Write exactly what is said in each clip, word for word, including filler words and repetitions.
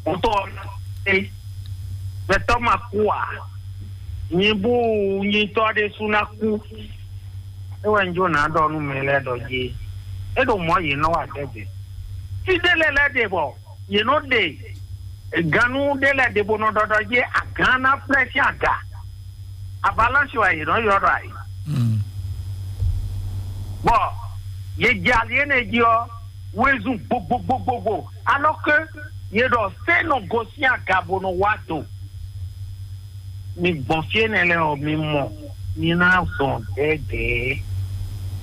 Mɔtɔ ɔ́ ná é, gbɛtɔ́ ma kú ǎ. Nyi bú nyitɔ́ ɖésú ná kú. É wɛ un jó ná ɖɔ nú mɛ lɛ́ɛ ɖɔ jí é ɖo mɔ̌ yě nɔ wa dɛgbɛ. Fí ɖé lɛ́ɛ lɛ́ɛ ɖe bɔ yě nɔ ɖe gannú ɖé lɛ́ɛ ɖe bó nɔ ɖɔ ɖɔ jí agán ná flɛ́ sín aga. Avalanche wɛ yě nɔ ylɔ́ ɖɔ ayǐ. Bɔ yě jɛ ali énɛ́ jí ɔ́, wezun gbogbogbogbo, alors que yě ɖɔ sɛ́ nɔ gosín aga bó nɔ wá do. Mi gbɔn fí énɛ́ lɛ́ɛ ɔ́, mi mɔ, mi ná zɔn dɛ̌dɛ̌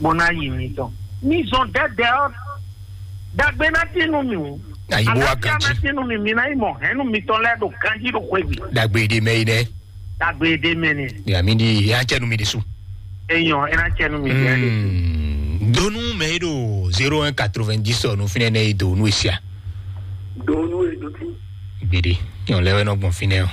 bó ná yi mitɔn. Mi zɔn dɛ̌dɛ̌ ɔ́, ɖagbe ná tín nú mi. Ayi bó wá Aláfíà ná ganjí. Tín nú mi, mi ná yi mɔ hɛ̌nnu mitɔn lɛ́ɛ ɖo ganjí ɖo xwé gbe. Dagbe ɖe mɛ yi nɛ. Dagbe ɖe mɛ nɛ. Ya mi di ya cɛ nu mi di su. Eyɔn, ena cɛ nu mi di ya de. Hmm. Donu mɛ yi do zéro un quatre-vingt-dix ɔ nu finɛ nɛ yi do nu esia. Donu e do ti. Gbede. Yɔn lɛ wɛ nɔ gbɔn finɛ o.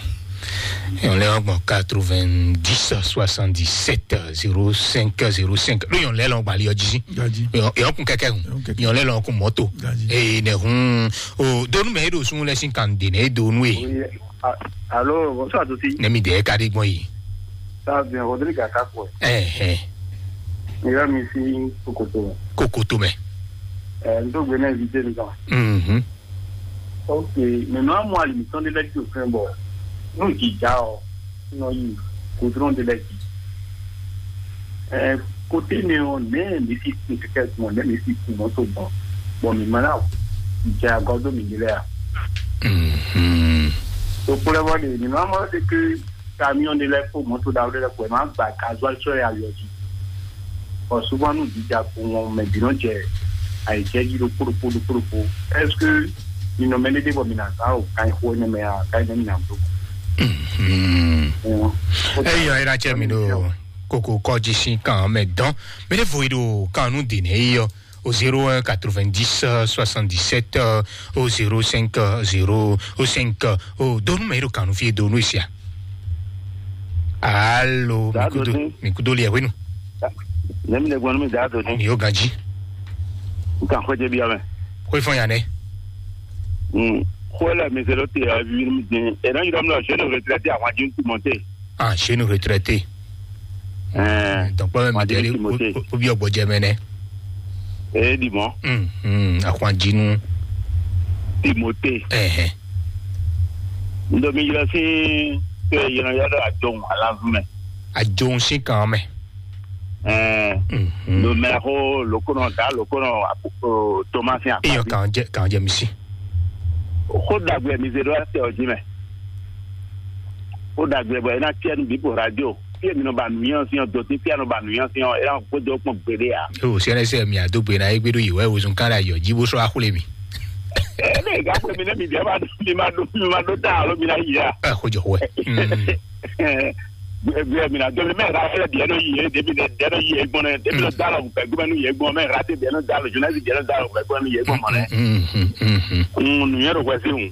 Yɔn lɛ wɛ gbɔn quatre-vingt-dix soixante-dix-sept zéro cinq zéro cinq. Lo yɔn lɛ lɔ gbali ɔ jisi. Gaji. Yɔn yɔn kun kɛkɛ hun. Yɔn kɛkɛ. Yɔn lɛ lɔ kun mɔto. Gaji. Ee ne hun. O donu mɛ yi do sun lɛ sin kan de ne donu e. Oui, a- allô, bonsoir à tous. Ne mi de ka de gbɔn yi. Ça va bien, Rodrigue Akakwe. Ɛhɛn. Mira mi si Kokoto. Kokoto mɛ. Euh, nous sommes venus inviter nous. Mhm. Ok, maintenant moi, l'émission de lecture, enfin, bon, nous, qui déjà, non, il faut de lecture. Euh, côté néon, mais, mais si, c'est quelque chose, mais, mais si, c'est mon tout bon. Bon, mais maintenant, j'ai encore deux mille là. Mhm. Donc, pour le moment, normalement, c'est que camion de lɛ́ɛ kpó mɔto ɖaxó ɖé lɛ́ɛ kpó ɛ má gba gasoil sɔ́ ɛ ali ɔ́ jí. Bɔ souvent nú jija kpowun ɔ́, mɛ bǐ nɔ jɛ ayǐjɛ jí ɖokpó ɖokpó ɖokpó ɖokpó. Est-ce que mi nɔ mɛ ɖé ɖé bɔ mi ná zán o kan xó énɛ́ mɛ a kan énɛ́ mi ná bló? Mhm. Eyɔ ira cɛ mi ɖo koko kɔji sin kan mɛ dɔn mi ɖe vo yi ɖo kan nu de nɛ yi yɔ. Au zéro un quatre-vingt-dix soixante-dix-sept au zéro cinq zéro cinq. O donu mɛ yi ɖo kan nu fi e donu sia. Alo. Daa mi kudo dodi. Mi kudo liɛ wenu. Ne mi le gbɔn mi daa dodi. Mi yo ganji. Nkan xɔ jɛ bi amɛ. Xɔ ifɔn ya nɛ. Hmm. Xɔ la mi se lo te a vi mi din. E na yira mi la je ne retraité a wa jin tu monte. Ah, chez nous retraité. Ɛɛ, donc pas même Madame Timothée. Ou bien Bodjemene. Eh, dis-moi. Hmm, hmm, à quoi dis-nous? Timothée. Eh, eh. Ndo mi yɔ si ke yɔ yɔ do adon alavme. Adon si kan mɛ. Eh. Hmm, hmm. Lo mɛ ko lo kono da lo kono Thomas ya. Iyo kan je kan je misi. Ko dagbe mi ze do ase o ji mɛ. Ko dagbe bɔ ina tiɛ nu bi po radio. Fie mi nɔ ba nuyɔn si ɔ doti fia nɔ ba nuyɔn si ɔ ina ko do kpɔn gbede ya. O sɛnɛ sɛ mi a do gbe na egbe do yi wɛ wozun kan la yɔ ji bo sɔ axule mi. Ɛ ne ga ko mi ne mi bia ma do mi ma do mi ma do ta alo mi na yi ya. Ɛ ko jɔ wɛ. Bia mi na do mi mɛ ra fɛ bia no yi ye de mi de de no yi ye gbɔn ne de mi no da la gbɛ gbɛ no ye gbɔn mɛ ra te bia no da la journaliste bia no da la gbɛ gbɛ no ye gbɔn mɔ ne. Nuyɛ do wɛ si ŋu.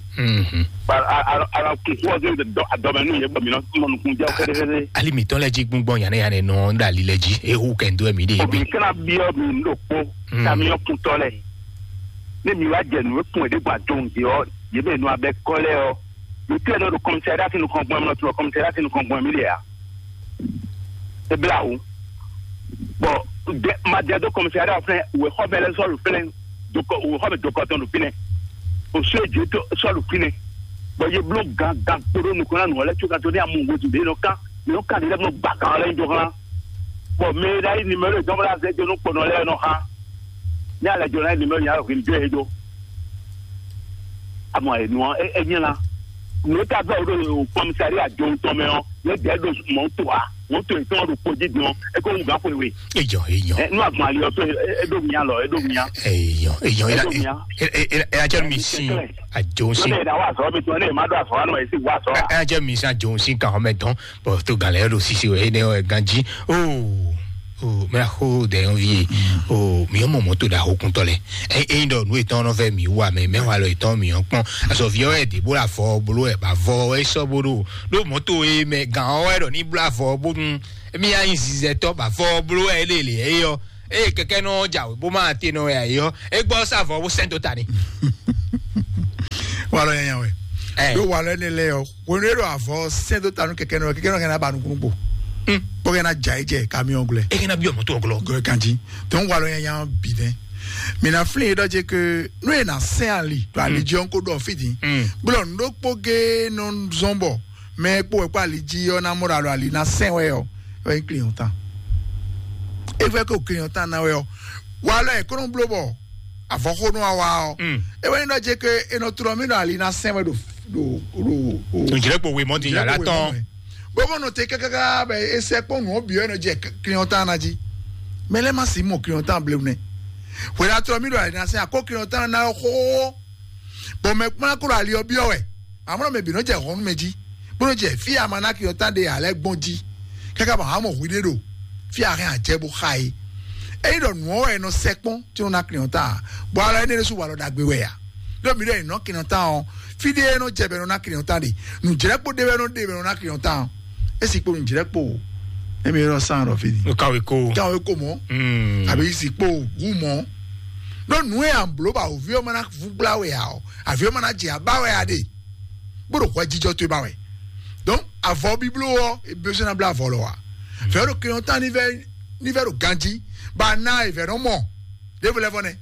Ala kún fún ọdún dọ àdọmẹnú yẹn bọ mi náà mọ nukun jẹ kẹdẹkẹdẹ. Ali mi tɔn lɛ ji gbɔngbɔn yanɛ yanɛ nɔ da ali lɛ ji ehu kɛ ndo mi de yɛ gbe. Mi kana biɔ mi ɖo kpó kamiɔn kuntɔ lɛ. Ne mi wá jẹ nù ekun ɛdí gba dòun di ɔ yé bɛ nu abẹ kọ lɛ ɔ. Mi tẹ nɔ ɖo kɔmsɛri asi nukɔn gbɔn mi nɔ tún kɔmsɛri asi nukɔn gbɔn mi lɛ ya. Eblawu. Bɔn madɛ do kɔmsɛri awo fɛnɛ wɛ xɔ bɛ lɛ sɔlu fɛnɛ dokɔ wɛ xɔ bɛ dokɔ tɔn do fɛnɛ. O so edzo to sɔlu fɛnɛ. Bɔn ye blo gan gan kpoɖo nukɔn na nɔ lɛ tso kan to ne amu wozu de nɔ kan ne nɔ kan de lɛ nɔ gba kan lɛ do kan. Bɔn mɛ ɖe ayi nimero dɔn bla zɛ do nɔ kpɔnɔ lɛ nɔ ha. Ne alɛ jɔ na nimero nya hwin do ye do. Amɔ enu ɔ e nyɛ la. Nota bɛ o do kɔmsɛri adzo ŋutɔ mɛ ɔ. Ne dɛ do mɔto a mɔto etɔn do kpodzi dɔn eko ŋu gan xwe we. Ejɔ ejɔ. Ɛ nu agbɔn ali ɔtɔ edo mia lɔ edo mia. Eyɔ eyɔ Edo mia. Ɛ ɛ ɛ ɛ atsɛ mi si adzo si. Lɔbɛ na wa sɔ mi tɔ ne ma do afɔ anɔ esi wa sɔ. Ɛ atsɛ mi si adzo si kan xɔmɛ tɔn bɔn to galɛ yɛ do sisi wɛ ene ɔ ɛ ganji. Oo. O mɛ xo dɛ yɔn vie. O mi yɔ mɔ mɔto da ho kuntɔ lɛ. Ɛ ɛ dɔ nu etɔn nɔ fɛ mi wa mɛ mɛ wa lɔ etɔn mi yɔ kpɔn. Azɔ viɔ ɛ de bo la fɔ bolo ɛ ba vɔ ɛ sɔ bo do. Ɖó mɔto e mɛ gǎn ɔ́ wɛ ɖɔ ní blá vɔ bónú émí yá nyi zizɛtɔ́ bɔ avɔ bló wɛ é lě lě é yɔ. Eye kɛkɛ nɔ jǎwe bó má te nɔ wɛ ayé ɔ́, é gbɔ sá avɔ bó sɛn dó ta ni. Wà lɔ nyanya wɛ. Ɛ. Ɖó walɔ énɛ́ lɛ́ɛ ɔ́, hwenu e ɖo avɔ sɛn dó ta nú kɛkɛnɔ, kɛkɛnɔ kɛ ná ba nukúnnú gbo. Hmm. Bó kɛ ná ja yi jɛ kamiɔn glɛ. E kɛ ná biɔ mɔtò ɔglɔ. Gɔɛ kanji. Tɔn walɔ nyanya bi nɛ. Mi na flin yi ɖɔ je ke nú e na sɛn ali ɖo ali jí ɔ́ ko ɖɔ fí din. Hmm. Gblɔ nǔ ɖokpó gé nɔ zɔn bɔ mɛ kpó wɛ kpó ali jí ɔ́ ná mɔ ɖo alo ali ná sɛn wɛ ɔ́, wɛ nyí client tan. E fɛ ko client tan ná wɛ ɔ́, walɔ e kɔnɔ bló bɔ avɔxónú wa wá ɔ́. Mm. E wɛ nyí ɖɔ je ke e nɔ tlɔ mì ɖo ali ná sɛn wɛ ɖo ɖo ɖo. Nǔjlɛ́kpo wemɔ din yàrá tɔn. Bɔbɔ nɔ te kákáká bɛ esɛ kpɔn nù ɔ́ bǐ ɔ́ nɔ jɛ client tan ná jí. Mɛ lɛ ma si mɔ client tan blewu nɛ. Hwɛ la tlɔ mì ɖo ali ná sɛn akó client tan ná xóxó. Bɔn mɛ kpɔ́n kó ɖo ali ɔ́ byɔ́ wɛ. Amɔ̌ mɛ bǐ nɔ jɛ hɔn nú mɛ jí, bó nɔ jɛ fí e ama ná ki ɔ́ tán ɖe ǎ lɛ́ɛ gbɔn jí, káká bɔ amɔ̌ hwi ɖé ɖo fí a hɛn ajɛ bó xa é. Ényí ɖɔ nǔ ɔ́ wɛ è nɔ sɛkpɔ́n tí nɔ ná klin ɔ́ ta ǎ, bɔ alɔ énɛ́ ɖésú walɔ ɖagbe wɛ ǎ. Ɖó mi ɖɔ è nɔ klin ɔ́ ta ɔ́, fí ɖé e nɔ jɛ bɔ è nɔ ná klin ɔ́ ta ɖe, nǔjlɛ́kpo ɖé wɛ nɔ ɖe bɔ è nɔ ná klin ɔ́ ta ɔ́, é si kpo nǔjlɛ́kpo. Émi ɖɔ sán ɖɔ fí ni. Kawe ko. Kawe ko mɔ. Hmm. Àbí si kpo wu mɔ. Ɖó nǔ e à ń bló bɔ awǒvi ɔ́ ma ná vú gbla wɛ ǎ ɔ́, àvi ɔ́ ma ná jɛ abá wɛ a ɖe. Bó ɖo hwɛjijɔ towe ba wɛ. Donc avɔ bíbló ɔ́, ebiosɛ́ ná blá avɔ lɔ wa. Vɛ̌ ɖo kɛnyɔ́tán ní vɛ́ ní vɛ́ ɖo ganjí, ba ná e vɛ̌ nɔ mɔ. Ɖěvo lɛ́ vɔ nɛ.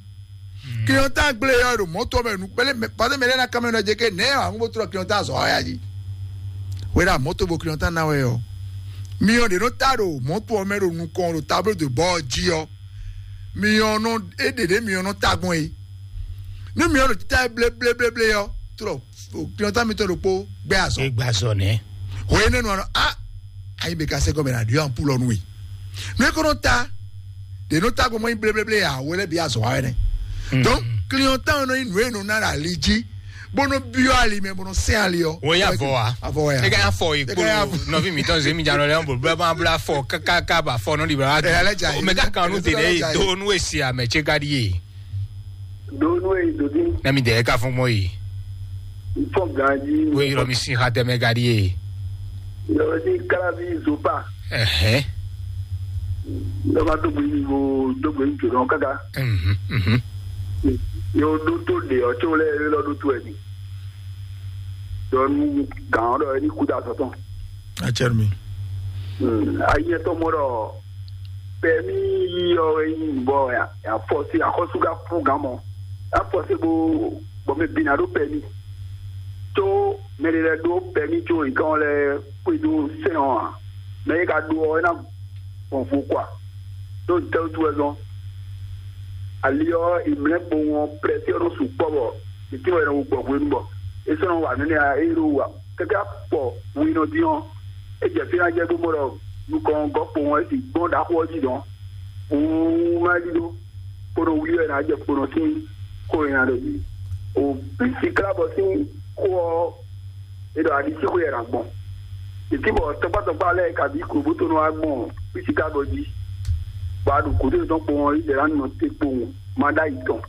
Kɛnyɔ́tán gblé ɔ́ ɖo mɔ̌tɔ mɛ nu kpɛlɛ mɛ pàtó mɛ lɛ́ ná kámɛ nɔ jɛ ké nɛ̌ wǎ ń bó tlɔ kɛnyɔ́tán azɔ̌ ɔ́ ya jí. Wɛ ɖo mɔ̌tɔ bo kɛnyɔ́tán ná wɛ ɔ́. Myɔ ɖě nɔ ta ɖo mɔ̌tɔ ɔ́ mɛ ɖo nukɔn ɖo tablo de bɔ ɔ́ jí ɔ́. Myɔ nɔ é ɖě ɖě myɔ nɔ ta gbɔn é. Nú myɔ ɖo títá blé blé blé blé ɔ́, tlɔ kplɔntá mitɔn ɖokpó gbɛ azɔ. Egbe azɔ nɛ. Hwenɛ́nu ɔ́, a ayi bɛ ka sɛ gɔmɛ na ɖiɔ ampulɔ nu we. Nú e ko nɔ ta ɖe nɔ ta gbɔmɔ yi bléblé a wo lɛ bi azɔ wa wɛ nɛ. Donc client tan nɔ yi nú e nɔ na ɖe ali jí bó nɔ biɔ ali mɛ bó nɔ sɛn ali ɔ. Wo ya vɔ wa. Avɔ ya. E ka ya fɔ yi Eka ya kpolo nɔvi mi tɔn zemi jan lɔ lɛ bolo bla bla fɔ kaka ba fɔ nɔ di bla. Ɛ, alɛ dza yi. O mɛ ka kan nu te de do nu esi ame tse ka di ye. Donu e dodi. Na mi dɛ ka fɔn mɔ yi. Fɔ ganji. Wo yi lɔ mi sin ha tɛmɛ ka di ye. Yɔ si kalabi zopa. Ɛhɛn. Lɔ ma to gbe yi bo to gbe yi jɔ dɔn kaka. Mhm, mhm. Yo do to de ɔ tso lɛ lɔ do to ɛ di. Dɔnu gan ɔ dɔ ɛ ni kuta sɔtɔn. Atsɛrɛ mi. Ayi ɛtɔ mɔ dɔ pɛmi yi ɔ ɛ yi bɔ ya ya fɔ si akɔsu ka fún gan mɔ. Afɔ se bo bɔ mɛ bina ɖo pɛmi. Tso mɛ ɖe lɛ ɖo pɛmi tso nkan lɛ kpedo sɛn ɔ a. Mɛ yi ka ɖo ɔ ɛ na gbɔn vo kwa. Ɖo tɛwutu wɛ zɔn. Ali ɔ imlɛ kpowun ɔ prɛsi ɔ nɔ su kpɔ bɔ titi wɛ nɔ gbɔ hwenu bɔ esɔnɔ wa nɛnɛ a e ɖo wa kɛkɛ akpɔ winɔ din ɔ. E jɛ fi na jɛ gbogbo ɖɔ nukɔn gɔ kpowun ɔ e si gbɔn ɖaxo ɔ ji dɔn. Wúwúwú má ɖi ɖó kpónɔ wlí wɛ ná jɛ kpónɔ sín xó e nya ɖo jí. O písi klábɔ sín xó ɔ́, é ɖɔ aɖisíxwé wɛ ná gbɔn. Títí bɔ tɔkpátɔkpá lɛ́ɛ kabí klobútonɔ wá gbɔn písi klábɔ jí. Bɔ a ɖo gǔdo yětɔn kpowun ɔ́, Izlayɛ́li nɔ te kpowun ma ɖó ayi tɔn.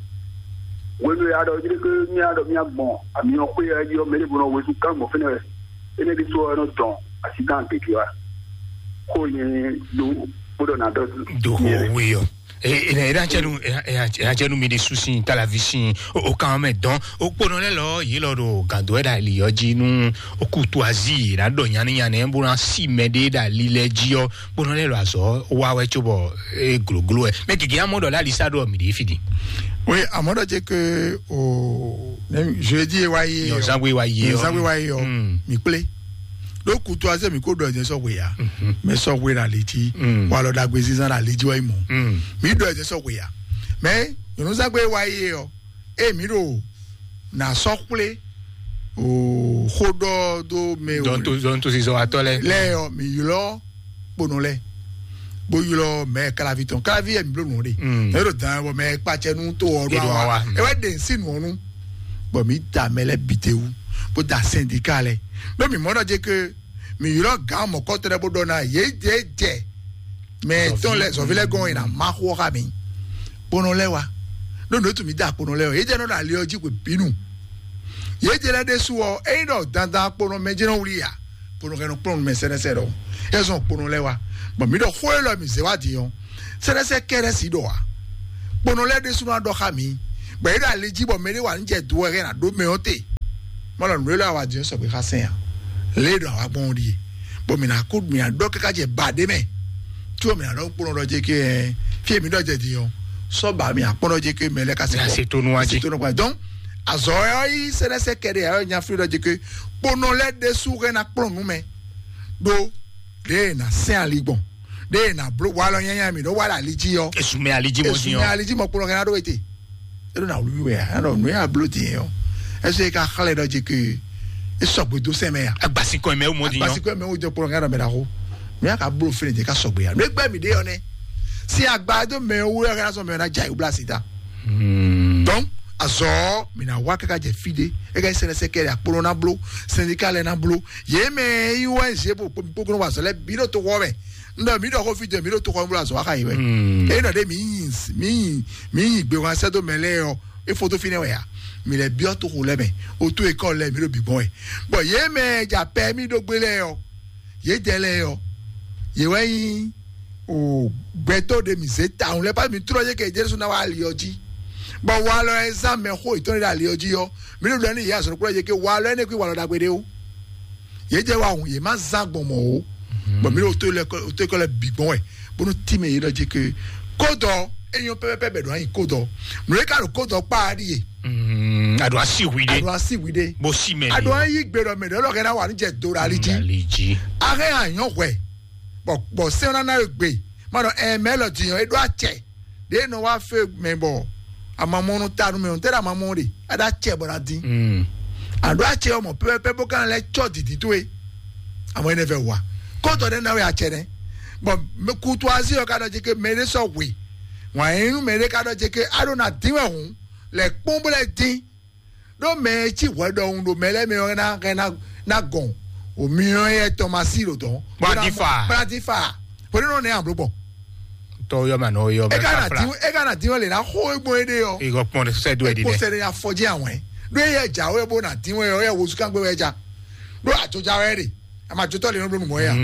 Hwenu e a ɖɔ jí ɖé mía ɖɔ mía gbɔn amyɔ xwé ɔ́ jí ɔ́, mɛ ɖěvo nɔ wezun kán gbɔn fínɛ́ wɛ. Énɛ́ ɖésú ɔ́, é nɔ dɔn asi gán gěgé wá. Xó nyɛ ɖó bó ɖɔ ná ɖɔ. Do xó wí ɔ. Ena ena tsɛnu ena tsɛnu mi ɖi susi talavi si o kan mɛ dɔn o kponɔ lɛ lɔ yi lɔ ɖo gado ɛ ɖa li ɔ dzi nu o kutu azi na ɖɔ nyani nyani bó na si mɛ ɖe ɖa li lɛ dzi ɔ kponɔ lɛ lɔ azɔ wa wɛ tso bɔ e gloglo ɛ mɛ gege amɔ ɖɔ la lisa ɖɔ mi ɖe fi di. Oui, amɔ ɖɔ dze ke o ne jeudi e wa ye Nyɔzangbe wa ye ɔ. Nyɔzangbe wa ye ɔ. Mm. Mi kple. Ɖó kutu azé mi kó ɖɔ ɛdɛ sɔ hwe ya. Mhm. Mɛ sɔ hwe ɖa li dzi. Mm. Walɔ ɖagbe zinzan ɖa li dzi wɛ mɔ. Mm. Mi ɖɔ ɛdɛ sɔ hwe ya. Mɛ nyɔnuzagbe wa ye ɔ. E mi ɖo na sɔ kple o xó ɖɔ do mɛ o. Dɔnto dɔnto si zɔ atɔ lɛ. Lɛ ɔ mi ylɔ kponɔ lɛ. Bó ylɔ mɛ kalavi tɔn kalavi yɛ mi bló nù ɖe. Mm. Ɛ ɖo dan bɔ mɛ kpatsɛ nu to ɔ ɖo Eɖo awa. Awa. Ewɛ ɖe nsi nù ɔnu. Bɔ mi da mɛ lɛ bi te wu. Bó da syndicat lɛ. Bɛ mi mɔ ɖɔ dze ke mi ylɔ gán mɔkɔtɔ lɛ bó ɖɔ na yé dze dze. Mɛ tɔn lɛ zɔvi lɛ gɔn yina ma xɔ xa mi. Kponɔ lɛ wa. Ɖo nǔ tu mi da kponɔ lɛ o. Yé dze nɔ ɖo ali ɔ dzi xwe binu. Yé dze lɛ ɖe su ɔ. Eyi ɖɔ dandan kponɔ mɛ dze nɔ wuli ya. Kponɔ kɛ nɔ kplɔn mɛ sɛnɛsɛ ɖɔ. Ezɔn kponɔ lɛ wa. Bɔn mi ɖɔ xó elɔ mi zɛ wa di ɔ. Sɛnɛsɛ kɛ ɖe si ɖɔ wa. Kponɔ lɛ ɖe su nɔ ɖɔ xa mi. Bɔ yé ɖo ali dzi bɔ mɛ ɖe wa nu jɛ do ɛ hɛn na ɖo mɛ ɔ te. Mɔ lɔ nǔ e lɔ awa din sɔgbe xá sɛn a? Lě ɖo awa gbɔn ɖíe. Bɔ mǐ ná kú, mǐ ná ɖɔ káká jɛ ba ɖé mɛ. Tí o mǐ ná ɖɔ kplɔ́n ɖɔ jɛ kí ɛ fí èmi ɖɔ jɛ din ɔ́, sɔ́ ba mǐ akpɔ́n ɖɔ jɛ kí mɛ lɛ ka se Mǐ ná se tónú wá jí. Se tónú wá. Donc azɔ ɛ ɔ́ yí sɛnɛsɛ kɛɖɛ ɛ ɔ́ nya fí ɖɔ jɛ kí kponɔ lɛ́ ɖésú hɛn ná kplɔ́n nú mɛ ɖó ɖě e nǎ sɛn ali gbɔn, ɖě e nǎ bló walɔ nyanya mǐ ɖó wa ɖo ali jí ɔ́. Esumɛ ali jí mɔ dín Esumɛ ɔ́. Ali jí mɔ kplɔ́n hɛn ná ɖó wete. E ɖo na wlí wɛ a nɔ nǔ ya bló din ɔ. Ɛsɛ ka xlɛ ɖɔ dzi ke e sɔgbe dó sɛ mɛ ya. Agbasikɔ mɛ wo mɔ din ɔ. Agbasikɔ mɛ wo jɛ kplɔn ŋa ɖɔ mɛ ɖaxo. Nǔ ya ka bló fɛnɛ jɛ ka sɔgbe ya nǔ egbɛ mi ɖe ɔ nɛ. Si agba do mɛ wo ya ka sɔ mɛ na ja ibla si ta. Donc azɔ mi na wa kaka jɛ fi de e ka sɛnɛ sɛ kɛlɛ akpolo na blo sɛndika lɛ na blo ye mɛ yi wɛ ze bo kpokpokpo wa zɔlɛ bi ɖo to wɔ mɛ. Ndɔ mi ɖɔ ko fi jɛ mi ɖo to xɔ blo azɔ wa ka yi wɛ. Eyi nɔ ɖe mi yi mi yi mi yi gbe wa sɛ do mɛ lɛ yɔ. E foto fi nɛ wɛ ya. Mi lɛ biɔ to xo lɛ mɛ. O to ekɔ lɛ mi ɖo bi gbɔn wɛ. Bɔn ye mɛ ja pɛ mi ɖo gbe lɛ yɔ. Ye jɛ lɛ yɔ. Ye wɛ yi o gbɛtɔ ɖe mi ze ta ŋu lɛ pa mi trɔ ye kɛ Jesu na wa ali ɔ ji. Bɔn walɔ ɛ zan mɛ xo etɔn ɖe ali ɔ ji yɔ. Mi ɖo ɖɔ ni ye azɔn kplɔ ye ke walɔ ɛ ne kwi walɔ ɖagbe ɖe o. Ye jɛ wa hun ye ma zan gbɔn mɔ o. Bɔn mi ɖo to lɛ kɔ to kɔ lɛ bi gbɔn wɛ bónú tí mi yi ɖɔ jí ke kódɔ eyɔn pɛpɛpɛ bɛ ɖo anyi kódɔ nù yɛ ká ɖo kódɔ kpa ɖi ye. Mm, aɖo asi wi ɖe. Aɖo asi wi ɖe. Bó sí mɛ aɖo ayi gbe ɖɔ mɛ ɖɔ lɔ kɛ na wà ní jɛ do ɖo ali jí. Ali jí. Ahɛ anyɔ hwɛ bɔ bɔ sɛn na na yɔ gbe ma ɖɔ ɛ mɛ lɔ diyɔn e ɖo acɛ ɖe nɔ wa fe mɛ bɔ amamɔnu ta nu mɛ o tɛ ɖe amamɔ ɖe aɖa acɛ bɔ na dín. Aɖo acɛ ɔmɔ pɛpɛpɛ bó kan lɛ tsɔ didi towe. Àmọ́ ẹni fẹ́ wà kóòtù ọdẹ náà wẹ̀ àtsẹ nẹ bɔn kutu azi ɔ ka dɔ jẹ ke mɛ ɖé sɔ wè wọn yẹn inú mɛ ɖé ka dɔ jẹ ke aɖo na dín wẹ̀ hùn lẹ kpɔn bó lẹ dín ɖó mɛ ẹ tí hwɛ ɖɔhun ɖo mɛ lɛ mɛ ɔ na na na gɔn omi ɔ yɛ tɔmasi ɖo dɔn Bó na dín fa. Bó na dín fa. Bó ní nɔ nɛ àbúrò bɔ Tɔ yɔ ma nɔ yɔ ẹ bɛ ká na kafla. Dín ẹ ká na dín ɔ lè na xó egbò ẹ ɖe ɔ Ìgò pọn sɛ do ẹ di kó dɛ. Sɛ ɖe afɔdzi àwọn ẹ ɖó ẹ yẹ dza wẹ bó na dín wẹ ɔ yẹ wozu kan gbé wẹ dza ɖó àjọjá wẹ ɖe. Ama jotɔ le nɔ bló numɔ ya.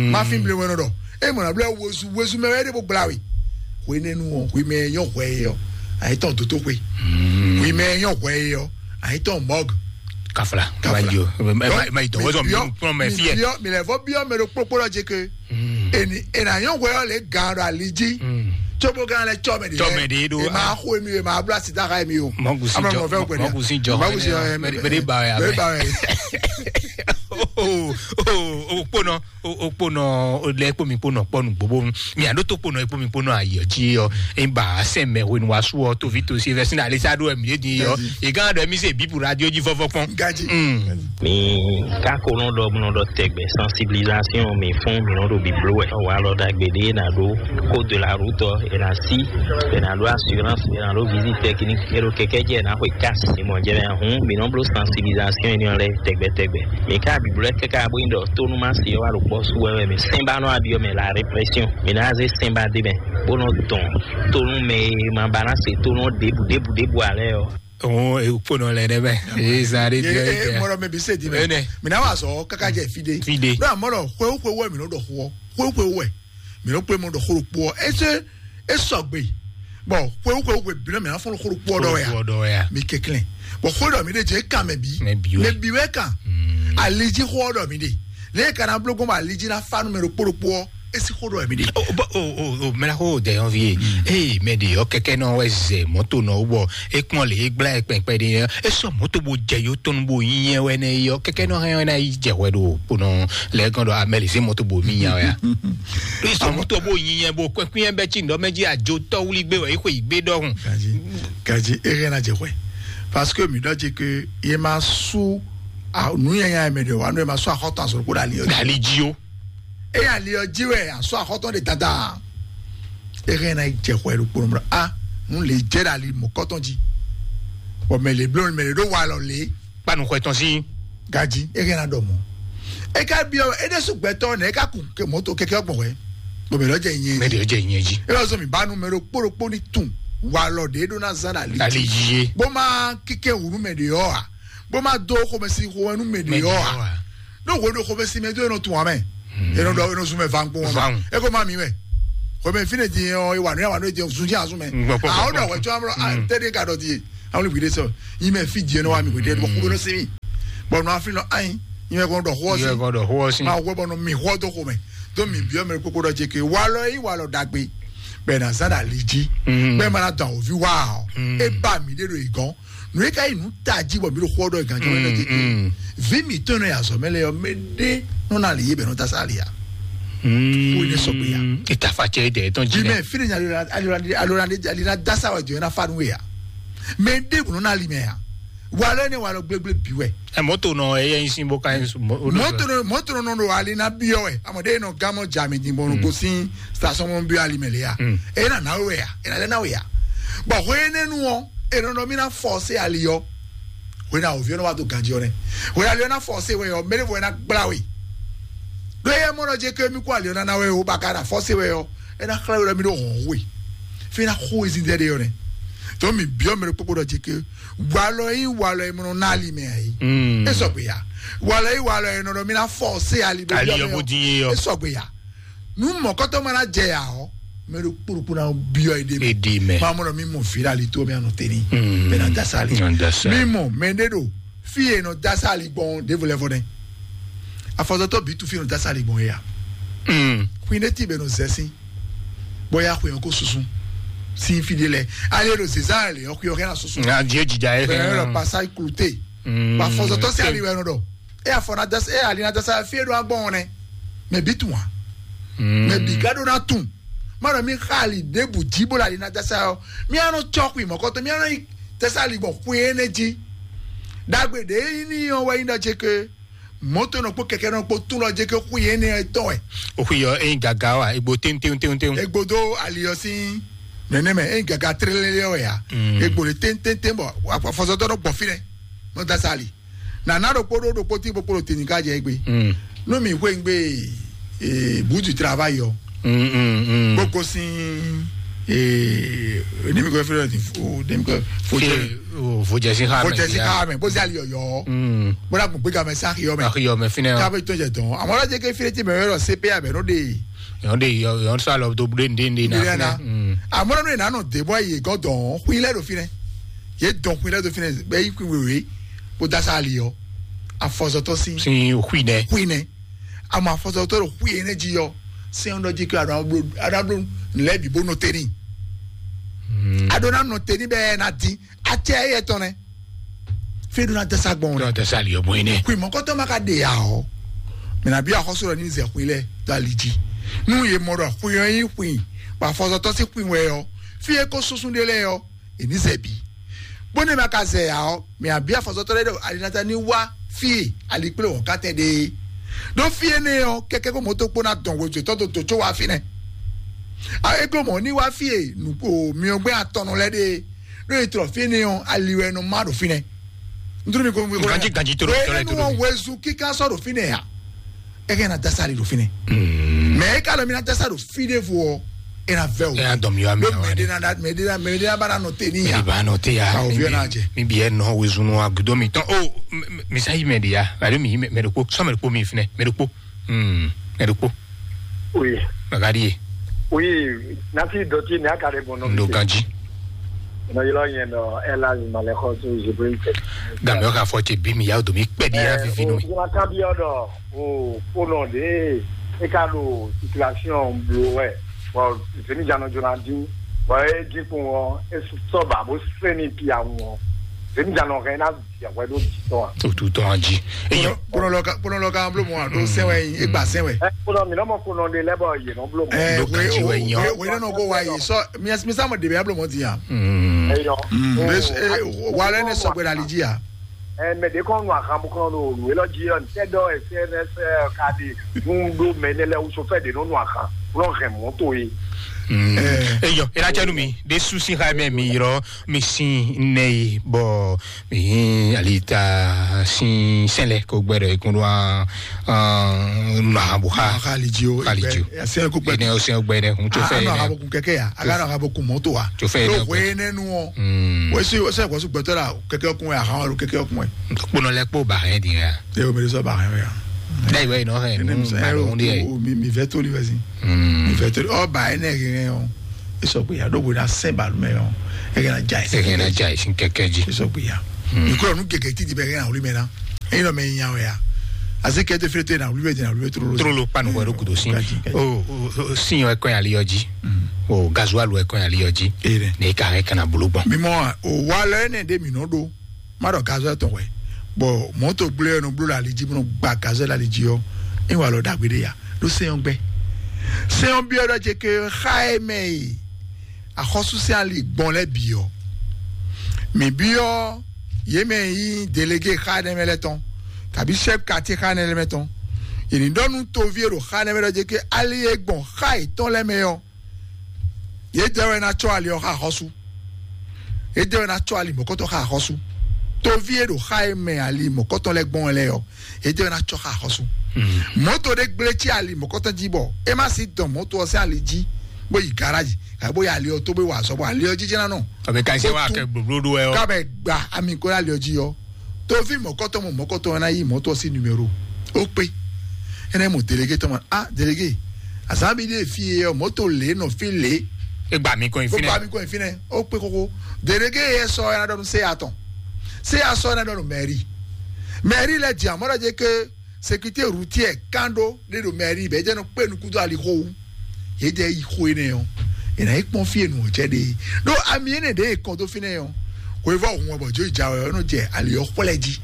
Ma fi blo wɛn nɔ dɔ. E mɔ na bló wozu wozu mɛ wɛ ɖe bó gbla we. Hwe nenu ɔ hwe mɛ nyɔ hwɛ ye ɔ. Ayi tɔn doto hwe. Hwe mɛ nyɔ hwɛ ye ɔ. Ayi tɔn mɔg. Kafla. Kafla. Ma yi o. Ma yi dɔwɔzɔ mi kplɔn mɛ fiɛ. Mi lɛ fɔ biɔ mɛ ɖo kpokpo lɔ dzi ke. Eni ena nyɔ hwɛ ɔ le gan ɖo ali dzi. Tsobo gan lɛ tsɔ mɛ de. Tsɔ mɛ de ɖo. E ma xo emi o e ma bla sida xa emi o. Mɔgusi jɔ. Mɔgusi jɔ. Mɔgusi ɔ mɛ de ba ya. Mɛ de ba ya. O o o kponɔ o o kponɔ o lɛ kpo mi kponɔ kpɔnu gbogbo mi ado to kponɔ ekpo mi kponɔ ayɔ dzi yɔ e ba sɛ mɛ wenu wa su ɔ tovi to si vɛ sin alisa do ɛmi di yɔ e gan do ɛmi se bibu radio dzi fɔfɔ kpɔn. Gaji. Mi ka ko nɔ ɖɔ nɔ ɖɔ tɛgbɛ sensibilisation mi fún mi nɔ ɖo biblo wɛ wa lɔ dagbe de na ɖo ko de la route e na si e na ɖo assurance e na ɖo visite technique e ɖo kɛkɛ jɛ na xwe cas e mɔ jɛ mɛ hun mi nɔ blo sensibilisation e nɔ lɛ tɛgbɛ tɛgbɛ. Mi ka biblo kɛkɛ abo yin ɖɔ tonu ma si wa ɖo kpɔ su wɛ mi sɛn ba nɔ abiɔ mɛ la répression mi na ze sɛn ba de mɛ bó nɔ tɔn tonu mɛ ma ba na se tonu debu debu debu alɛ yɔ. Òun èkpónɔ lɛ nɛ mɛ èyí zan ɖe biɔ yìí tɛ. Mɔlɔ mɛ bi se di mɛ. Ɛnɛ. Mina wa sɔ kaka jɛ fi de. Fi de. N'o amɔ lɔ xwewu xwewu wɛ mi n'o dɔ xɔ xwewu xwewu wɛ mi n'o kpe mɔ dɔ xɔ kpɔ ɛsɛ esɔgbe. Bɔn xwewu xwewu xwe bi n'o mi n'afɔ xɔ kpɔ dɔ ya. Xɔ dɔ ya. Mi kekle. Bɔn xwe dɔ mi de jɛ kan mɛ bi. Mɛ bi wɛ. Mɛ bi wɛ kan. Aliji xɔ dɔ mi de. Ne kana blo gɔn aliji na fa numero kpɔ kpɔ. Esi xó ɖɔ ɛmí ɖe. O bɔ o o o mɛla xó dɛ yɔn vie. Ee mɛ de yɔ kɛkɛ nɔ wɛ zɛ mɔto nɔ wɔ e kpɔn le e gbla e kpɛnkpɛ de yɛ e sɔ mɔto bo jɛ yo tɔnu bo yin yɛ wɛ ne yɔ kɛkɛ nɔ hɛn wɛ na yi jɛ wɛ do kponɔ lɛ gɔn dɔ amɛ le se mɔto bo mi nya wɛ ya. E sɔ mɔto bo yin yɛ bo kpɛnkpɛ yɛ bɛ tsi ndɔ mɛ dzi adzo tɔ wuli gbe wɛ e xɔ yi gbe dɔhun. Gaji gaji e hɛn na jɛ wɛ parce que mi dɔ dzi ke ye ma su nu yɛ nya mɛ de wa nu ye ma su axɔtɔ asɔrɔ ko da li yɔ. Da li dzi o. Eya li ɔ jí wɛ asɔ axɔtɔn de dada. Ere na jɛ xɔ ɛɖo kpɔnɔ mlɔ a nu le jɛ ɖe ali mɔ kɔtɔn jí. Bɔn mɛ le blɔ mɛ le ɖo wa lɔ le. Kpanu xɔ ɛtɔn sí. Gaji ere na dɔ mɔ. Eka biɔ eɖe su gbɛtɔ nɛ eka kun ke mɔto kɛkɛ gbɔn wɛ. Bɔn mɛ lɔ jɛ nyɛ. Mɛ de jɛ nyɛ jí. E lɔ sɔ mi ba nu mɛ ɖo kpɔɖo kpɔ ni tun wa lɔ de ɖo na zan ali. Ali yie. Bó ma kíkẹ́ wùnú mɛ de yɔ wa. Bó ma dó xɔmɛsi xɔmɛnu mɛ de yɔ wa. Ɖo hwe ɖo xɔmɛsi mɛ do enɔ tun wa mɛ. Enɔ ɖɔ enɔ zun mɛ va ŋkpɔn wa mɛ. Eko ma mi mɛ. Xɔmɛ fi ne di yɛ wa nɔ ya wa nɔ di zun di azun mɛ. Awo ɖɔ wɛ tsɔ amlɔ a tɛ de ka dɔ di ye. Amlɔ gbe de sɔ yi mɛ fi di enɔ wa mi gbe de bɔ xɔmɛ nɔ si mi. Bɔ nɔ afi nɔ anyi, nyɛ kɔn ɖɔ xɔ si. Nyɛ kɔn ɖɔ xɔ si. Ma wɛ bɔ nɔ mi xɔ dó xɔ mɛ. Dó mi biɔ mɛ kpokpo ɖɔ jɛ ke walɔ yi walɔ dagbe. Bɛ na zan ali ji. Mhm. Bɛ ma na dɔn ovi wa o. Mhm. E ba mi de ɖo igɔn. Nu e ka yi nu ta ji bɔ mi ɖo xɔ ɖɔ igán jɔ mɛ jɛ ke. Mhm. Vi mi tɔn nɔ ya zɔ mɛ lɛ yɔ mɛ de nɔ na li ye bɛ nɔ ta sa ali ya. Mhm. Ko ne sɔgbe ya. E ta fa cɛ de tɔn ji. Bi mɛ fi ne nya ali na ali na ali na dasa wa jɔ na fa nu ya. Mɛ de nɔ na li mɛ ya. Walɔ ne walɔ gblegble bi wɛ. Ɛ mɔto nɔ eye yin sin bo ka yin su. Mɔto nɔ mɔto nɔ nɔ ali na biɔ wɛ amɔ de nɔ gamɔ jami di bɔ nɔ gosin station mɔ biɔ ali mɛ le ya. Mm. E na na wɛ ya e na lɛ na wɛ ya. Bɔn hwe ne nu ɔ e nɔ nɔ mi na fɔ se ali yɔ. Hwe na ovi ɔ nɔ wa do ganji ɔ nɛ. Hwe ali ɔ na fɔ se wɛ yɔ mɛ de fɔ e na gbla we. Do ye mɔ nɔ je ke mi kó ali ɔ na na wɛ o ba ka na fɔ se wɛ yɔ. E na xlɛ wɛ mi do hɔn we. Fi na xo ezin dɛ de yɔ nɛ. Tɔ mi biɔ mɛ de kpokpo dɔ je ke. Walɔ yi walɔ yi mɔnɔ n'ali mɛ ayi. Mm. E sɔgbe ya. Walɔ yi walɔ yi nɔnɔ mi na fɔ se ali bɛ ali yɔ bo di ye yɔ. E sɔgbe ya. Nu mɔkɔtɔ mana jɛ ya ɔ mɛ do kpokpo na biɔ yi de mɛ. E de mɛ. Ma mɔnɔ mi mɔ fi la li to mi anɔ teni. Mm. Bɛ na dasa ali. Na dasa. Mi mɔ mɛ de do fi ye nɔ dasa ali gbɔn de volɛ fɔ dɛ. Afɔzɔtɔ bi tu fi nɔ dasa ali gbɔn ye ya. Mm. Kui ne ti bɛ nɔ zɛsin. Bɔ ya xwe ko susu. Sin fi de lɛ. Ali do zezan le yɔ xwe yɔ kɛ na susu. Nga die jija ye. Bɛ yɔ pasa kulute. Mm. Ba fɔzɔtɔ se ali wɛ nɔ dɔ. E afɔ na dasa e ali na dasa fi e do agbɔn nɛ. Mɛ bi tun wa. Mm. Mɛ bi ka do na tun. Ma dɔ mi xa ali debu ji bo la ali na dasa yɔ. Mi anɔ tsɔ xwe mɔkɔtɔ mi anɔ yi dasa ali gbɔn xwe ene ji. Dagbe de yi ni yɔ wɛ yi na je ke. Mɔto nɔ kpó kɛkɛ nɔ kpó tún lɔ jẹ kɛ xú yẹn ní ɛ tɔn ɛ. O xú yɔ eyin gaga wa egbo tɛntɛntɛntɛn. Egbo dó aliyɔ sí nɛnɛ mɛ eyin gaga tlélélé ɔ ya. Mm. Egbo le tɛntɛntɛn bɔ afɔsɔtɔ nɔ gbɔ fi nɛ nɔ dasa ali. Nana ɖokpó ɖó ɖokpó tí kpókpó ɖo tini ká jɛ egbe. Mm. Nú mi xwé ŋgbé ee butu travail yɔ. Mm, mm, mm. Kpókó sín ee ní mi kɔ fí lɔ ní fo ní mi kɔ fo jẹ. Fo jẹ sí xa mɛ. Fo jẹ sí xa mɛ bó sí ali yɔyɔ. Mm. Bó dà kún gbéga mɛ sáà xiyɔ mɛ. Xiyɔ mɛ fínɛ. Ká bɛ tó jẹ dɔn àmọ́ lọ́jọ́ ké fílẹ̀ tí mɛ yọrọ cpa bɛ n'o de. Yɔn de yɔn sá lɔ tó dé ndé ndé na fínɛ. Àmọ́ lọ́nà ìnáná dèbọ̀ yìí gán dɔn xuyilẹ́ do fínɛ. Yé dɔn xuyilẹ́ do fínɛ bẹ́ẹ̀ yí kún wèwè kó dá sáà li yɔ. Afɔzɔtɔ sí. Sí xuyinɛ. Xuyinɛ. Àmọ́ afɔzɔtɔ do xuyinɛ jí yɔ. Sẹ́yìn dɔ jí kí adó abúlé adó abúlé nlẹ́ bí bó nɔ tẹ́ni. Adó ná nɔ tẹ́ni bẹ́ẹ̀ ná dín. Atsɛ eyɛ tɔn nɛ. Fɛn do na dasa gbɔn. Dɔ dasa li ɔbɔn yi nɛ. Kui mɔkɔtɔ ma ka de ya ɔ. Mina bi axɔsɔ dɔ ni zɛ kui lɛ do ali dzi. Nu ye mɔ dɔ kui ɔ yi kui. Ba fɔzɔtɔ si kui wɛ ɔ. Fi e ko sunsun de lɛ ɔ. Eni zɛ bi. Bó ne ma ka zɛ ya ɔ. Mi abi afɔzɔtɔ lɛ dɔ alinata ni wa fi e ali kple wɔn katɛ de. Ɖo fi ene ɔ kɛkɛ ko moto kpó na dɔn wezɔtɔ do to tso wa fi nɛ. A ego mɔ ni wa fi e nuko miɔgbɛ atɔnɔ lɛ de. Ɖó e trɔ fínɛ́ ɔ́ ali wɛ nɔ má ɖo fínɛ́. Ntúrú mi ko mi ko Ganji, ganji tó ɖo tɔlɛ tó ɖo enu ɔ́ mi. Wezu kíká sɔ́ ɖo fínɛ́ ya. Eke na dasa ali ɖo fínɛ́. Mɛ e ka lɔ mi na dasa ɖo fí ɖé vo ɔ́, e na vɛ o. E na dɔn mi wa mi Ɖó na wa mɛ ɖe ɖe. Na da mɛ ɖe na mɛ ɖe na ba na nɔ te ní ya. Mi ba nɔ te ya. Ka o mi viɔ bi na jɛ. Mi bi ɛ nɔ wezu nɔ agudo mi tɔn o. Mi sa yi mɛ ɖe ya. Alo mi yi mɛ ɖe kpo sɔ mɛ ɖe kpo mi finɛ mɛ ɖe kpo. Hmm, mɛ ɖe kpo. Oui. Magari ye. Oui, nasi dɔti ne aka ɖe bɔn nɔ. Ndo ganji. Nɔ yɔrɔ yẹn nɔ ɛla malɛkɔ so jibrin tɛ. Gamɛ ka fɔ tɛ bi mi ya do mi kpɛ di ya vivi no mi. Jona kan bi ɔdɔ o ko nɔ de e ka do circulation blo wɛ. Bon, zemi jana jona din. Bon, e din kun wɔ e sɔ ba bo seni pia wɔ. Zemi jana rɛ na Yàgbẹ́ ló ti tọ́ a. Tó tó tọ́ a jí. Eyɔ. Kpɔnɔ lɔ ka kpɔnɔ lɔ ka blo mɔ a ɖo sɛn wɛ yin egba sɛn wɛ. Ɛ kpɔnɔ mi nɔ mɔ kpɔnɔ de lɛ bɔ yɛ nɔ blo mɔ. Ɛ Ló ka jí wɛ yàn. Wɛ nɔ ko wa yi sɔ mi mi sa mɔ de bɛ blo mɔ ti yan. Eyɔ. Wa lɛ ne sɔgbɛ la li ji ya. Ɛ mɛ de kɔn nu ahan bu kɔn lo lu elɔ ji yɔ ntɛ dɔ ɛ sɛ nɛ sɛ ka di dun do mɛ ne lɛ wusu fɛ de nɔ nu ahan lɔ hɛn mɔto ye. Eyɔ ela cɛ nu mi de susi ha mɛ mi yɔrɔ mi sin nɛ yi bɔ Mihin alita sin sɛlɛ ko gbɛ dɔ ikun do an an mahabu ha Maha Khalidji o, Khalidji o. Sɛn ko gbɛ. Ene o sɛn gbɛ ne hun tso fɛ ene. Mahabu kun kɛkɛ ya, aga na habu kun mɔto wa. Tso fɛ ene. Lo hwe ne nu o. Mm. Wesi wesi ko su gbɛtɔ la kɛkɛ kun ya han lo kɛkɛ kun. Kpono lɛ kpo ba hɛn di ya. E o mi sɔ ba hɛn ya. Dai wɛ no hɛn. Ene mi sa ya lo mi mi vɛ to li wɛ si. Mm. Mi vɛ to li o ba ene hɛn o. E sɔ gbe ya ɖo bo na sɛn balu mɛ ɔ, e kɛ na ja yi. E kɛ na ja yi sin kɛkɛ ji. E sɔ gbe ya. Ikɔ nu gɛgɛ titi bɛ e kɛ na wuli mɛ na. Eyi nɔ mɛ nya wɛ ya. Asi kɛ te fete na wuli wɛ di na wuli wɛ trolo. Trolo kpanu wɛ ɖo kudo sin. Kaji, kaji. O, o, o, sin wɛ kɔn ali yɔ ji. O, gazualu wɛ kɔn ali yɔ ji. Ere. Ne ka hɛ kana bolo gbɔn. Mi mɔ a, o wa lɛ ne de mi nɔ do. Ma ɖɔ gazualu tɔn wɛ. Bɔ mɔto gblé yɔ nɔ blo la ali ji bɔ nɔ gba gazualu ali ji yɔ. E wa lɔ dagbe de ya. Ɖo sɛn yɔ gbɛ. Sɛn yɔ biɔ ɖɔ je ke xa e mɛ yi. Axɔ́súsɛ́n ali gbɔn lɛ́ɛ bǐ ɔ́, mǐ byɔ́ yě mɛ e nyí delégé xá énɛ́ mɛ lɛ́ɛ tɔn, kabí chɛ́f katí xá énɛ́ lɛ́ɛ mɛ tɔn, yě ní ɖɔ nú toví e ɖo xá énɛ́ mɛ lɛ́ɛ ɔ́ jí ké ali e gbɔn xá yětɔn lɛ́ɛ mɛ ɔ́, yědɛɛ wɛ ná cɔ́ ali ɔ́ xá axɔ́sú. Yědɛɛ wɛ ná cɔ́ ali mɔ̌kɔtɔn xá axɔ́sú. Toví e ɖo xá e mɛ ali mɔ̌kɔtɔn lɛ́ɛ gbɔn wɛ lɛ́ɛ ɔ́, yědɛɛ wɛ ná cɔ́ xá axɔ́sú. Mɔ̌to ɖé gblé cí ali mɔ̌kɔtɔn jí bɔ é má sí dɔn mɔ̌to ɔ́ sín ali jí bó yi garáji, ká bó yi ali ɔ́ tó bó yi wa azɔ̌ bɔ ali ɔ́ jijɛ ná nɔ. Ɔbɛ ka ṣe wa kɛ blóbló ɖó ɛ ɔ. Ká bɛ gba ami kó ali ɔ́ jí ɔ́. Toví mɔ̌kɔtɔn mɔ mɔ̌kɔtɔn ɔ́ ná yí mɔ̌to ɔ́ sín numéro. Ó kpé. Énɛ́ mɔ délégué tɔn mɔ, ah, délégué, azǎn mi ɖe fí e ɔ, mɔ̌to lě nɔ fí lě. E gba mi kɔn yi bó fínɛ. Gba mi kɔn yi fínɛ. Ó kpé xóxó. Délégué e sɔ ɛ ná ɖɔ nú sé atɔn. Sé asɔ ɛ ná ɖɔ nú mɛri. Mɛri lɛ jɛ amɔ́ ɖɔ jɛ ké sécurité routière kan ɖó ɖé ɖo mɛri bɛɛ jɛ nɔ kpé nukúndó ali xó wú. Yě jɛ yi xó énɛ́ ɔ́, è nǎ yi kpɔ́n fí e nǔ ɔ́ jɛ ɖe. Ɖó ami énɛ́ ɖě è kɔn dó fínɛ́ ɔ́, hwevɔ́ hun ɔ́ bɔ jó yi ja wɛ ɔ́ nɔ jɛ ali ɔ́ xwlɛ́ jí.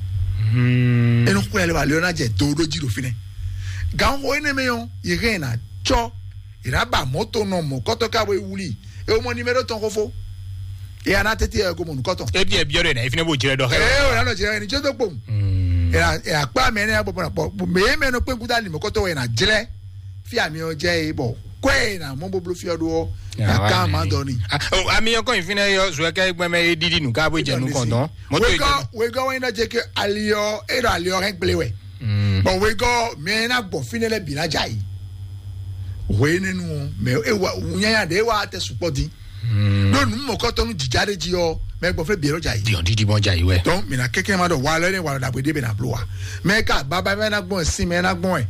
É nɔ xwlɛ́ lɔ ali ɔ́ ná jɛ do ɖó jí ɖo fínɛ́. Gǎnxó énɛ́ mɛ ɔ́, yě hɛn ɛ ná cɔ́, è nǎ ba mɔ̌ tɔn nɔ mɔ̌kɔ́tɔ́ ká bo yi wlí. É wú mɔ nimero tɔn xófó. Eya ná tete ɛ ko mɔ nukɔtɔn. Ebi ebi ɔdɔ yina ifinɛ b'o jrɛ dɔ xɛ. Ee o nanɔ jrɛ ni jɔdɔ kpom. Ɛ akpa mɛ ne bɔ bɔ mɛ mɛ nɔ kpe kuta ni mɔkɔtɔ wɛ na jrɛ. Fi ami ɔ jɛ ye bɔ kɔɛ na mɔ boblo fi ɔdo ɔ. Na kan ma dɔ ni. Ami yɔn kɔn ifinɛ yɔ zuɛ kɛ gbɛmɛ ye didi nu ka bo jɛ nu kɔntɔn. Mɔtɔ yi jɛ. Wegɔ wegɔ wɛ na jɛ ke ali ɔ e dɔ ali ɔ hɛn gble wɛ. Bɔn wegɔ mɛ na gbɔ finɛ lɛ bi na ja yi. Hwe ne nu mɛ e wa nyanya de e wa tɛ sukpɔ din. Ɖó nǔ mɔ̌kɔtɔnú jǐjá ɖé jí ɔ́, mɛ gbɔn fɛ́ bǐ ɔ́ jà yí. Diɔn dídí mɔ́ jà yí wɛ. Dɔn mǐ ná kɛ́kɛ́ ma ɖɔ wa lɛ́ ní wa ɖo ɖagbe ɖé mɛ ná bló wa. Mɛ ka baba mɛ ná gbɔn sin mɛ ná gbɔn ɛ.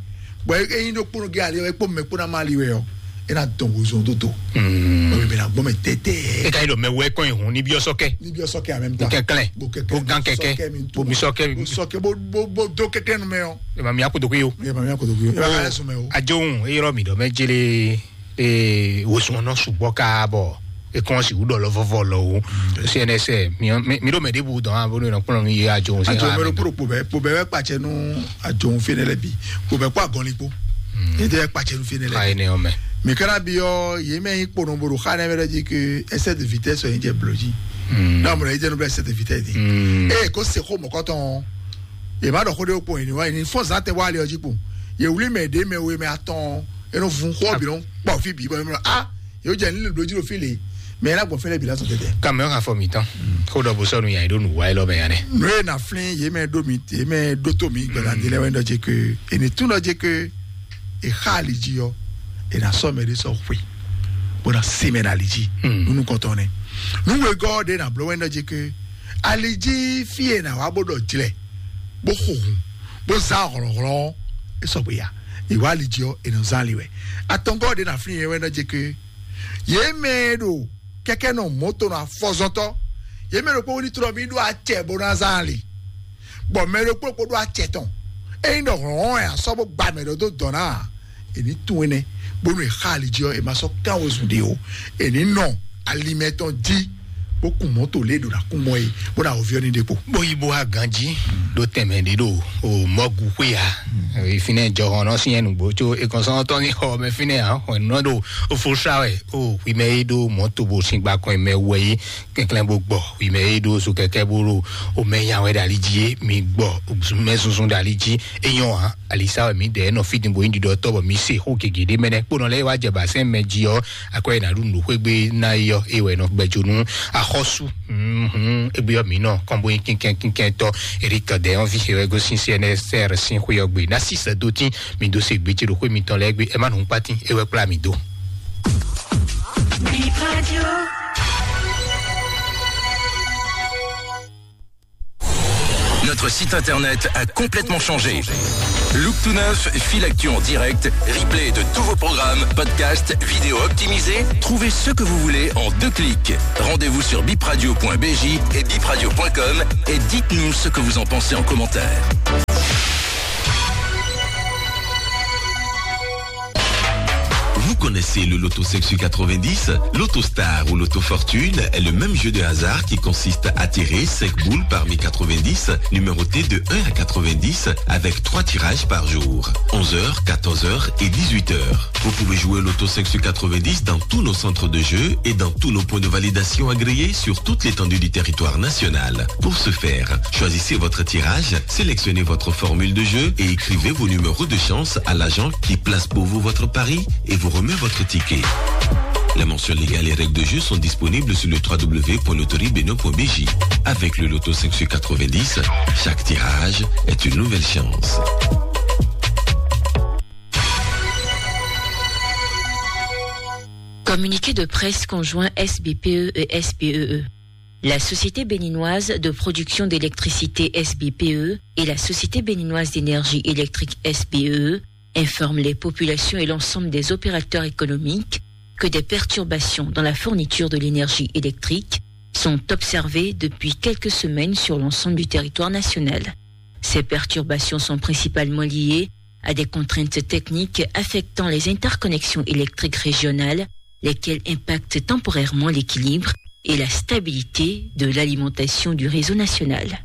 Bɔ e yin ɖo kpónɔ gé ali ɔ́, e kpó mɛ kpó ná ma ali wɛ ɔ́, e ná dɔn wozɔn dó do. Bɔ mɛ ná gbɔn mɛ tɛtɛ. E ka yi ɖɔ mɛ wɛ kɔn yi hun ní bí ɔsɔ kɛ. Ní bí ɔsɔ kɛ amɛ mi ta. Kɛkɛlɛ. Bo kɛkɛ. Bo gan kɛkɛ. Bo mi sɔ kɛ. Bo sɔ kɛ bo bo bo do kɛkɛ nu mɛ ɔ́. E ma mi akudo kuyo. E ma mi akudo kuyo. E ma ka lɛ sun mɛ o. Ajohun e yɔrɔ mi ɖɔ mɛ jele. Ee, wosùn ɔ́ nɔ sukpɔ́ káá bɔ é kɔn sixú ɖɔ lɔ vɔvɔ lɔ o. C N S, mi mi ɖo mɛ ɖěbǔ dɔn a bónú nɔ kplɔ́n mi yé ajo òun sí. Ajo mɛ ɖo kpó ɖo kpó bɛ kpó bɛ wɛ kpatsɛ nú ajo òun fínɛ lɛ bi kpó bɛ kpó agɔnlin kpó. Ete wɛ kpatsɛ nú fínɛ lɛ. Ka ene ɔmɛ. Mi kana bi ɔ yé mɛ yi kpó nɔ bo ɖo xa nɛ mɛ ɖe jí ke excès de vitesse ɔ yi jɛ blɔ jí. N'a mɔ ɖe yi jɛ nɔ bla excès de vitesse di. Ee, ko se xó mɔkɔtɔn. Yě má ɖɔ xó ɖé kpɔn yě ní wá yě ní fɔ́n zǎn tɛ wá lé ɔ́ jí kpɔn. Yě wlí mɛ ɖě mɛ we mɛ atɔn e nɔ vun xó ɔ́ bǐ nɔ kpɔ fí bǐ bɔ é mɔ a yě jɛ ní lǒ jí ɖo fí lě. Mɛ é ná gbɔn fɛ́nɛ bǐ lásán tɛtɛ. Kàmú ẹ̀ hàn fọ mǐtán. Kó ɖɔ bó sɔ́ nu yàn yín ɖó nǔ wá élɔ́ mɛ yàn nɛ. Nǔ e na flín yě mɛ ɖó mi yě mɛ ɖó tó mi gbɛ̀lá dé lɛ́ wɛ ɖɔ jí ke è ní tún ɖɔ jí ke è xá ali jí ɔ́ è nà sɔ́ mɛ ɖé sɔ́ xwe bó ná sí mɛ ɖo ali jí nú nukɔntɔn nɛ. Nú wegɔ́ ɖé nà bló wɛ ɖɔ jí ke ali jí fí è nà wá bó ɖɔ jlɛ bó xo hun bó zán hlɔ̌nhlɔ́n é sɔgbe ya. Ìwá ali jí ɔ́ è nɔ zán ali wɛ. Atɔngɔ́ ɖé na flín yɛ wɛ nɔ jɛ ké yě mɛ e ɖo kɛkɛ nɔ mɔto nɔ afɔzɔtɔ yě mɛ ɖokpó wí ní tlɔ mí ɖó acɛ bó ná zán ali bɔ mɛ ɖokpó ɖokpó ɖó acɛ tɔn. Ényí ɖɔ hlɔ̌nhlɔ́n ɛ asɔ bó gba mɛ ɖɔ dó dɔ̌ ná a èní tún énɛ́ bónú è xá ali jí ɔ́ è ma sɔ́ kán wezun ɖe o. Èní nɔ alimɛ tɔn jí bó kun mɔ̌to lě ɖo ná kún mɔ é bó ná wòviɔ ní ɖe kpo. Bó yi bó wá ganjí ɖó tɛnmɛ ɖé ɖo o mɔgu xwé ya. Ìfinɛ jɔhɔn nɔ sí ɛnu gbó tso ekɔnsɔn tɔn ní xɔ mɛ fínɛ hàn xɔ nɔ ɖo o fo sa wɛ o xwi mɛ yi ɖó mɔ̌to bó sín gba kɔn mɛ wɛ yi kɛnklɛn bó gbɔ xwi mɛ yi ɖó so kɛkɛ bó ɖo o mɛ nya wɛ ɖo ali jí mi gbɔ mɛ sunsun ɖo ali jí. Enyɔ hàn alisa wɛ mi ɖe nɔ fiti bo yin ɖiɖɔ tɔ bɔ mi se xó gege ɖe mɛnɛ kponɔ lɛ wa jɛ basɛn mɛ ji ɔ akɔ yɛ na ɖu nuɖuxwegbe na yi ɔ ewɛ nɔ gbɛjo nu axɔsu. Mhm, egbe ɔ mi nɔ kɔnbo yin kinkɛn kinkɛn tɔ Eric Dɛyɔn vi ewɛ gosin C N S R sin xwe ɔ gbe na si sɛ do tin mi do se gbe ce ɖo xwe mitɔn lɛ gbe ɛ ma nu kpatin ewɛ kpla mi do. Notre site internet a complètement changé. Look tout neuf, fil actu en direct, replay de tous vos programmes, podcasts, vidéos optimisées. Trouvez ce que vous voulez en deux clics. Rendez-vous sur bipradio point b j et bipradio point com et dites-nous ce que vous en pensez en commentaire. Connaissez le Lotto cinq sur quatre-vingt-dix ? Lotto Star ou Lotto Fortune est le même jeu de hasard qui consiste à tirer cinq boules parmi quatre-vingt-dix, numérotées de un à quatre-vingt-dix, avec trois tirages par jour, onze heures, quatorze heures et dix-huit heures. Vous pouvez jouer Lotto cinq sur quatre-vingt-dix dans tous nos centres de jeu et dans tous nos points de validation agréés sur toute l'étendue du territoire national. Pour ce faire, choisissez votre tirage, sélectionnez votre formule de jeu et écrivez vos numéros de chance à l'agent qui place pour vous votre pari et vous remet votre ticket. Les mentions légales et règles de jeu sont disponibles sur le trois w point loterie bénin point b j. Avec le Lotto cinq sur quatre-vingt-dix, chaque tirage est une nouvelle chance. Communiqué de presse conjoint S B P E et S P E E. La Société béninoise de production d'électricité, S B P E, et la Société béninoise d'énergie électrique, S B E E, informent les populations et l'ensemble des opérateurs économiques que des perturbations dans la fourniture de l'énergie électrique sont observées depuis quelques semaines sur l'ensemble du territoire national. Ces perturbations sont principalement liées à des contraintes techniques affectant les interconnexions électriques régionales, lesquelles impactent temporairement l'équilibre et la stabilité de l'alimentation du réseau national.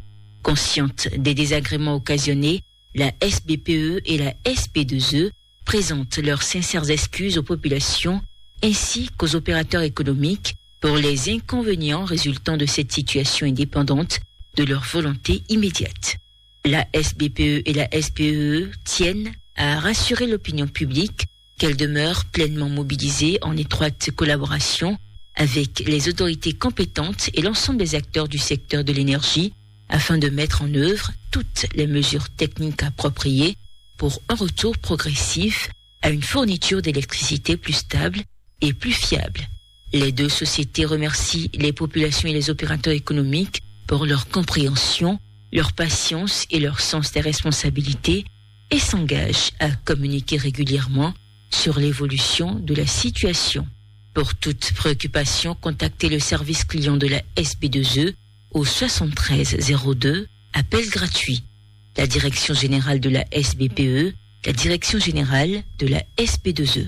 Consciente des désagréments occasionnés, la S B P E et la S B deux E présentent leurs sincères excuses aux populations ainsi qu'aux opérateurs économiques pour les inconvénients résultant de cette situation indépendante de leur volonté immédiate. La S B P E et la S B E E tiennent à rassurer l'opinion publique qu'elles demeurent pleinement mobilisées en étroite collaboration avec les autorités compétentes et l'ensemble des acteurs du secteur de l'énergie afin de mettre en œuvre toutes les mesures techniques appropriées pour un retour progressif à une fourniture d'électricité plus stable et plus fiable. Les deux sociétés remercient les populations et les opérateurs économiques pour leur compréhension, leur patience et leur sens des responsabilités et s'engagent à communiquer régulièrement sur l'évolution de la situation. Pour toute préoccupation, contactez le service client de la S B deux E au soixante-treize zéro deux, appel gratuit. La direction générale de la S B P E, la direction générale de la S B deux E.